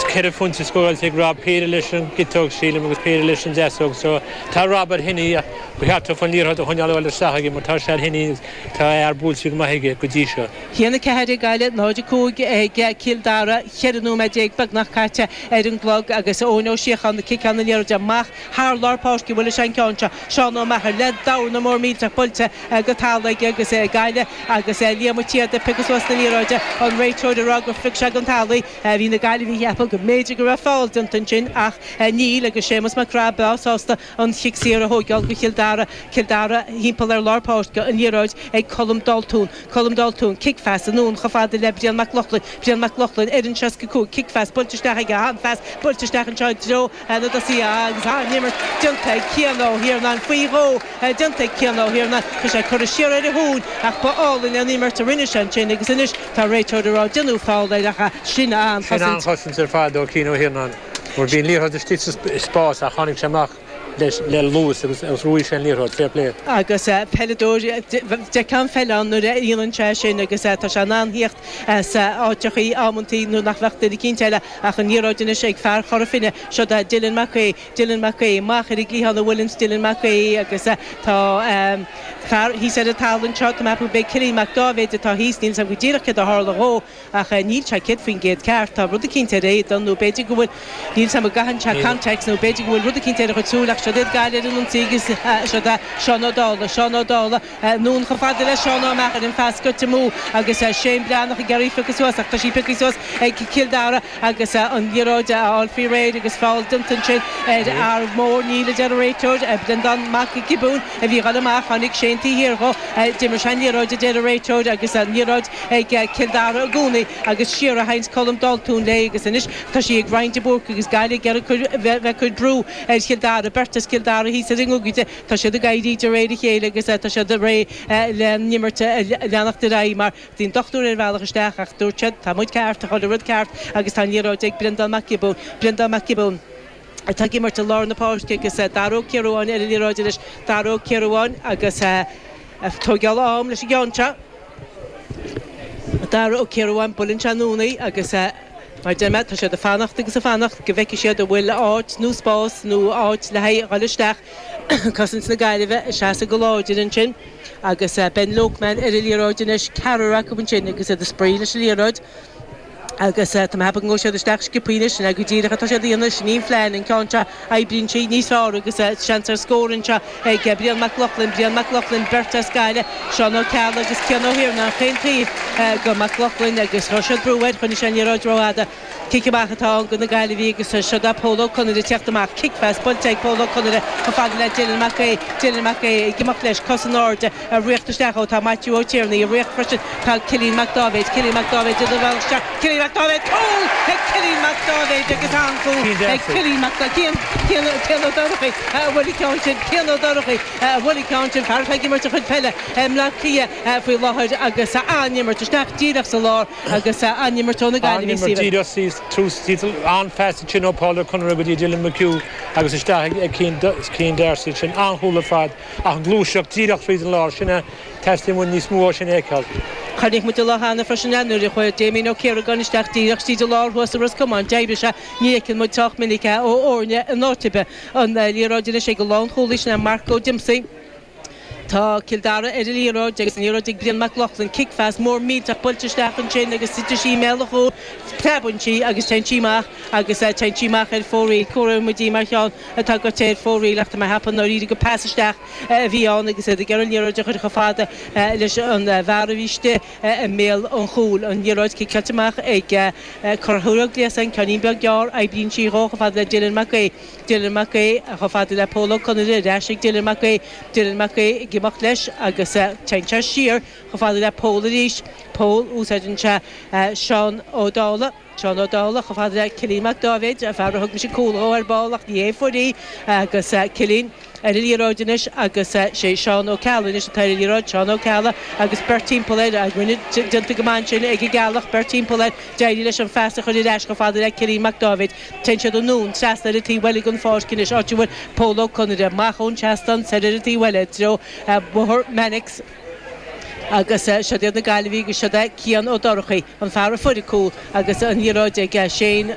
Cheithre phointe scóráilte ag Rob, péire leis an gciotóg, sílim, agus péire leis an deasóg. So tá Rob ar thine ach ba cheart dófa an liathróid a choinneáil ag dul isteach aige mar tá sé ar thine agus tá a fhear buailte go maith aige go dtí seo. 1-4 ag Gaillimh, 0-5 ag Cill Dara, 14 nóiméad beagnach caite ar an gclog agus Eoin Ó Síocháin ag ciceáil na liathróide amach thar lár páirce, bhfuil sé an ceann seo, Seán Ó Meachair le dorna mór millteach buailte go talamh aige agus Gaillimh agus Liam Ó Tiada ag piocadh suas na liathróide, an réiteoir ag rá gur phioc sé den talamh í. Bhí na Gaillimhigh ag ceapadh go mb'fhéidir go raibh feall déanta ansin ach níl agus Séamus Mac Craith breá sásta an chic saor a thóigeáil go Chill Dara. Cill Dara thimpeall ar lár páirce, an liathróid ag Colm Daltún. Colm Daltún, cic-phas anonn chomh fada le Brian Mac Lochlainn. Brian Mac Lochlainn ar an 65, cic-phas buailte isteach aige, an-phas buailte isteach anseo i dtreo na dtosaithe agus an-imirt déanta ag Cian Ó hIarnáin faoi dhó déanta ag Cian Ó hIarnáin. Tá sé curtha siar ar a thóin ach ba álainn an imirt a rinne sé ansin agus anois tá an réiteoir ag rá déanadh feall air ach sin Sin an-chosaint. an-chosaint ar fad ó Cian Ó hIarnáin mar bhí an liathróid istigh sa spás ach tháinig sé amach leis le luas agus ghnóthaigh sé an liathróid. Fair play. Agus peileadóir, d'fheicfeá an pheil ann nuair a dhéanann sé sin agus tá sé in ann theacht as áiteachaí amantaí nuair nach bheadh duine eicínt eile ach an liathróid anois ag fear Chora Finne, seo é Dylan Mac Aoidh, Dylan Mac Aoidh amach ar an gcliathán a bhuaileanns Dylan Mac Aoidh agus tá fear thíos ar an talamh anseo, tá mé ag ceapadh gurb é Cillian Mac Dáibhéid atá thíos, níl 's agam go díreach céard a tharla dhó ach níl sé 100% ceart, tá rud eicínt ar a éadan nó b'fhéidir go bhfuil, níl 's agam an gcaitheann sé contacts nó b'fhéidir go bhfuil rud eicínt ar a chuid súil ach siod iad Gaillimh ar an ionsaí agus siod é Seán Ó Dálaigh, Seán Ó Dálaigh. Anonn chomh fada le Seán Ó Meachair, an phas scoite amú agus Shane Breathnach ag iarraidh í a phiocadh suas ach tá sí pioctha suas ag Cill Dara agus an liathróid á fháil faoi réir agus feall déanta ansin ar fhear mór, níl a deir an réiteoir, Breandán Mac Giobúin a bhí ag dul amach, tháinig Shane taobh thiar dhó, d'imir sé an liathróid a deir an réiteoir agus an liathróid ag Cill Dara i gcónaí agus siar a théanns Colm Daltún léi agus anois tá sí ag Ryan de Búrca agus Gaillimh ag iarraidh bheith ag cur brú ar Chill Dara, beirt as Cill Dara thíos ar an ngogaide. Tá siad ag éirí de réir a chéile agus tá siad réidh le an imirt a leanacht ar aghaidh mar bhí an dochtúir ar a bhealach isteach ach dúirt siad tá muid ceart, tá chuile rud ceart agus tá an liathróid ag Breandán Mac Giobúin. Breandán Mac Giobúin atá ag imirt i lár na páirce agus Dara Ó Ciaruáin ar an liathróid anois. Dara Ó Ciaruáin agus ag tóigeáil am leis an gceann seo. Dara Ó Ciaruáin, buaileann sé anonn í agus. Mar a deir mé, tá siad ag fanacht agus ag fanacht go bhfeicfidh siad an bhfuil áit nó spás nó áit le haghaidh a dhul isteach. Cosaint na Gaillimhe ag seasamh go láidir ansin agus Ben Loughman ar an liathróid anois, ceathrar acu ansin agus iad ag spraoi leis an liathróid agus tá mé ag ceapadh go ngabhfaidh siad isteach sciobthaí anois, sin é go díreach atá siad a dhéanamh, sin í an phlean, an ceann seo oibríonn sí níos fearr agus seans ar scór anseo ag Brian Mac Lochlainn, Brian Mac Lochlainn, beirt as Gaillimh, Seán Ó Ceallaigh agus Cian Ó hIarnáin chaon taobh go Mac Lochlainn agus chuir siad brú air, choinnigh sé an liathróid rófhada. Cic amach atá ann do na Gaillimhigh agus siod é Pól Ó Conaire ag teacht amach. Cic-phas buailte ag Pól Ó Conaire chomh fada le Dylan Mac Aoidh. Dylan Mac Aoidh ag imeacht leis, cos in airde, ag ritheacht isteach ó tá Maitiú Ó Tiarnaigh, ag ritheacht freisin tá Cillian Mac Dáibhéid. Cillian Mac Dáibhéid ar a bhealach isteach. Cillian Mac Dáibhéid, cúl ag Cillian Mac Dáibhéid agus an-chúl ag Cillian Mac Cian, Cian, Cian Ó Dorchaí a bhuail an ceann sin, Cian Ó Dorchaí a bhuail an ceann sin, fear atá ag imirt a chuid peile i mBleá Cliath faoi láthair agus an-imirt isteach díreach sa lár agus an-imirt ó na Gaillimhigh, An-imirt Stephen. díreach síos tús, an-phas ansin ó Paul Ó Conaire go dtí Dylan McHugh agus isteach ag Cian D'Arcy ansin, an-chúl ar fad ach an ghluaiseacht díreach tríd an lár, sin a Teastaíonn uainn níos mó ó sin a fheiceáil. Chonaic muid an lá cheana freisin é nuair a chuaigh Damien Ó Ciaragáin isteach díreach tríd an lár thuas i Ros Comáin. D'oibrigh sé. Ní fheiceann muid sách minic é ó fhoirne in áit ar bith. An liathróid anois ag an lánchúlaí, sin é Marc Ó Diomsaigh. Tá Cill Dara ar an liathróid agus an liathróid ag Brian Mac Lochlainn. Cic-phas mór millteach buailte isteach ansin agus titeann sí i mbéal an chúil. Preabann sí agus téann sí amach agus téann sí amach ar fóraoil. Comhaireoidh muid í mar cheann atá gaibhte ar fóraoil ach tá mé ag ceapadh i ndáiríre gur pas isteach a bhí ann agus iad ag iarraidh an liathróid a chur chomh fada leis an bhfear a bhí istigh i mbéal an chúil. An liathróid ciceáilte amach ag Conchúr Ó Gliasáin, ceainnín beag gearr, oibríonn sí dhó chomh fada le Dylan Mac Aoidh. Dylan Mac Aoidh chomh fada le Pól Ó Conaire, ar ais ag Dylan Mac Aoidh. Dylan Mac Aoidh ag imeacht leis agus téann sé siar chomh fada le Pól arís. Pól, úsáideann sé Seán Ó Dálaigh. Seán Ó Dálaigh chomh fada le Cillian Mac Dáibhéid, an fear a thug mise cúl dhó ar ball ach ní hé a fuair í, agus Cillian ar an liathróid anois agus sé Seán Ó Ceallaigh anois atá ar an liathróid, Seán Ó Ceallaigh agus beirt timpeall air, rinne déanta go maith ansin ag an gCeallach, beirt timpeall air, d'éirigh leis an phas a chur ar ais chomh fada le Cillian Mac Dáibhéid. Téann siad anonn trasna ar an taobh eile den pháirc anois, áit a bhfuil Pól Ó Conaire, amach ón seastán soir ar an taobh eile i dtreo Bhóthar Mannix. Agus siod iad na Gaillimhigh agus siod é Cian Ó Dorchaí, an fear a fuair an cúl agus an liathróid ag Shane.